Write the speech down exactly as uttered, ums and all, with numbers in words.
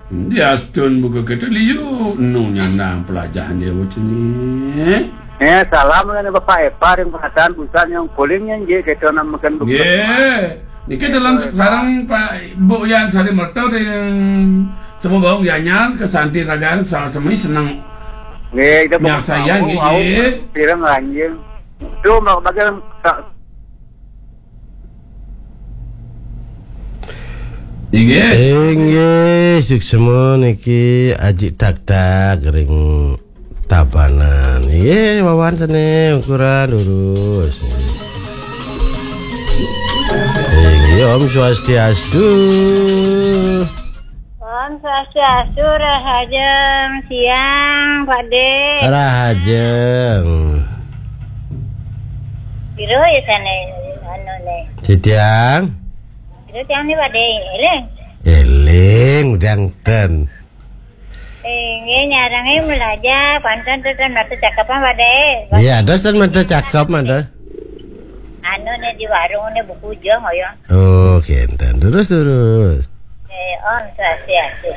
Diastun buka kita liu nu nyandang pelajahan dia bocah ni. Eh, salam dengan Bapak Epa yang perhatian busan yang polingnya je kita namakan buka. Nggih. Niki dalam sarang Pak Bu Yan Sari Merta yang semua bawang Gianyar ke Santi Ragan sama-sama senang. Nggih, kita nyar saya nggih. Pirang anjing. Tu mak bagian tak. Inggih. Inggih, suksma niki Aji Tak Tak ring Tabanan. Inggih, wawan sene ukuran lurus. Inggih, Om Swastiastu. Om Swastiastu, rahajeng siang, Pak De. Rahajeng. Piro ya sane anu ne? Sitiang. Piro tiang ne, Pak De? Eling. Eling, udang ten. Inggih, nyarange belajar, panten ten mata cakapan, Pak De. Iya, ada ten mata cakap, ada. Anu ne di warung ne buku jeng, ya. Oh, kenten. Terus, terus. Eh, Om Swastiastu.